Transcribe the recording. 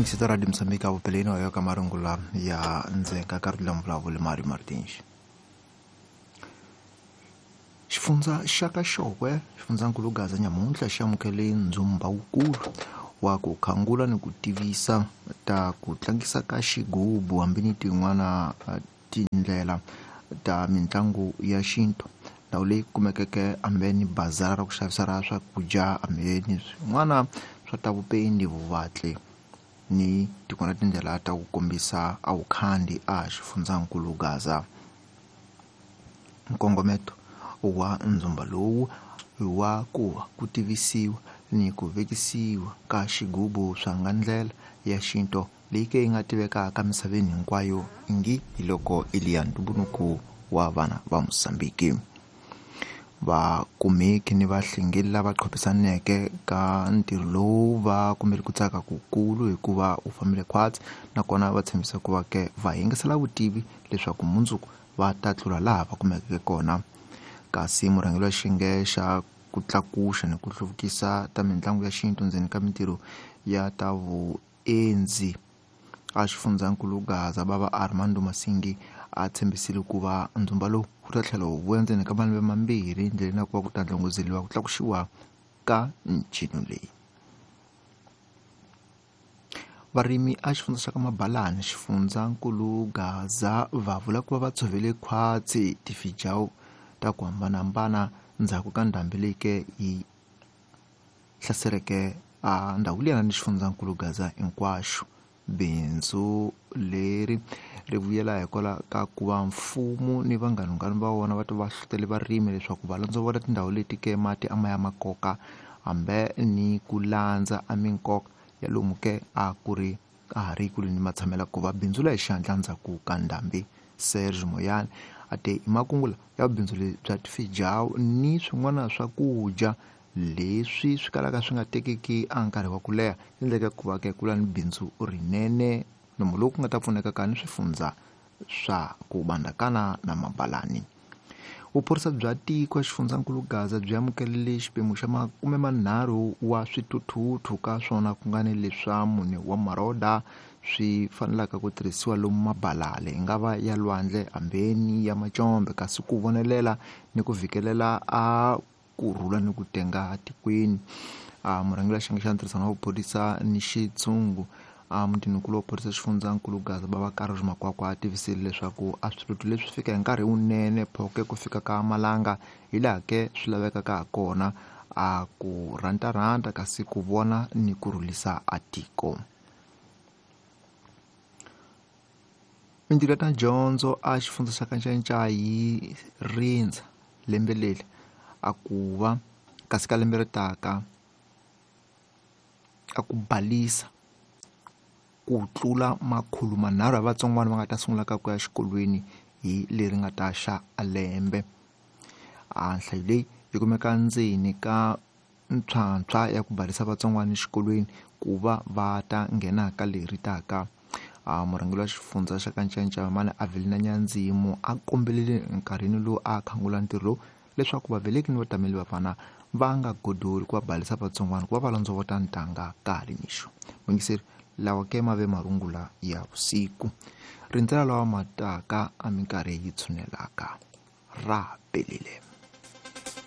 Yingiseta Radio Mozambique a vupeleni wa yo ka marungula ya ndzhenga ka ri vulavuli Mario Martins. Xifundza xa ka Xokwe, xifundzankulu Gaza nyamuntlha xi amukele ndzumba wukulu wa ku khangula ni ku tivisa ta ku tlangisa ka xigubu hambi ni tin'wana tindlela ta mitlangu ya xintu. Ndhawu leyi kumekeke hambe ni bazara ra ku xavisa ra swakudya hambi ni swin'wana swa ta vupendi, vuvatli ni tin'wana tindlela ta ku kombisa a vukhandi a xifundzankulu Gaza. Nkongometo wa ndzumba lowu i wa ku va ku tivisiwa ni ku vekisiwa ka xigubu swa nga ndlela ya xintu leyi ke yi nga tivekaka misaveni hinkwayo ngi hi loko i liya ntumbuluko wa vana va Mozambique. Vakumeki ni vahlengeli lava qhopisaneke ka ntirho lowu va kumele ku tsaka kukulu hikuva wu fambile khwatsi, nakona va tshembisa ku va ke va yingisela vutivi leswaku mundzuku va ta tlula laha va kumekeke kona. Kasi murhangeri wa xiyenge xa ku tlakuxa ni ku hluvukisa ta mitlangu ya xintu ndzeni ka mintirho ya ta vuendzi a xifundzankulu Gaza bava Armando Masingi a tshembisile ku va ndzumba lowu wu ta tlhela wu vuya ndzeni ka malembe mambirhi ndleleni ya ku va ku ta ndlongozeliwa ku tlakuxiwa ka ncino leyi. Varimi a xifundza xa ka Mabalani xifundzankulu Gaza va vula ku va va tshovele khwatsi tifijawu ta ku hambanahambana ndzhaku ka ndhambi leyi ke yi hlasereke a ndhawu liya ni xifundzankulu Gaza hinkwaxo. Bindzu leri ri vuyela hikwalaho ka ku va mfumo ni vanghanunghanu va wona va ta va hlohlotele varimi leswaku va londzovota tindhawu leti ke mati a ma ya ma koka hambi ni ku landza a minkoka ya lomu ke a ku ri a ha ri kule ni matshamelo ku va bindzula hi xihatla ndzhaku ka ndhambi. Serge Moyane a te i makungu ya bindzu lebyi bya tifijawu ni swin'wana swakudya leswi swi kalaka swi nga tekiki a nkarhi wa ku leha endleka ku va ke kula ni bindzu rinene nomu lowu ku nga ta pfuneka ka ni swifundza swa ku bandakana na Mabalani. Vuphorisa bya tiko xifundzankulu Gaza byi amukelele xiphemu xa 30 wa swithuthuthu ka swona ku nga ni leswa 4 wa maroda swi fanelaka ku tirhisiwa lomu mabalale yi nga va ya lwandle hambeni ya macombe, kasi ku vonelela ni ku vhikelela a kurhula ni ku tenga tikweni. Murhangeri wa xiyenge xa ntirhisano wa vuphorisa ni xitshungu a mutinikulu wa phorisa xifundzankulu Gaza bava Carlos Makwakwa a tivisile leswaku a swithuthuthu leswi fika hi nkarhi wunene phoke ku fika ka malanga hi laha ke swi lavekaka ha kona a ku rhantarhanta kasi ku vona ni ku rhulisa a tiko. Mintirho ya ta dyondzo a xifundza xa ka Ncayincaya yi rindza lembe leri a ku va kasi ka lembe ri taka a ku balisa ku tlula 300 ya vatsongwana va nga ta sungula ka ku ya xikolweni hi leri nga ta xa a lembe. A nhlayo leyi yi kumeka ndzeni ka ntshwantshwa ya ku balisa vatsongwana exikolweni ku va va ta nghena ka leri taka. A murhangeri wa xifundza xa ka Ncayincaya Mani Avelina Nyandzimu a kombelele nkarhini lowu a khangula ntirho lowu leswaku vaveleki ni vatameli va vana va nga godoli ku va balisa vatsongwana ku va va londzovota ntanga ka ha ri mixo. Muyingiseri, lawa ke ma ve marungula ya vusiku. Rindzela lawa ma taka a minkarhi yi tshunelaka. Ra pelile.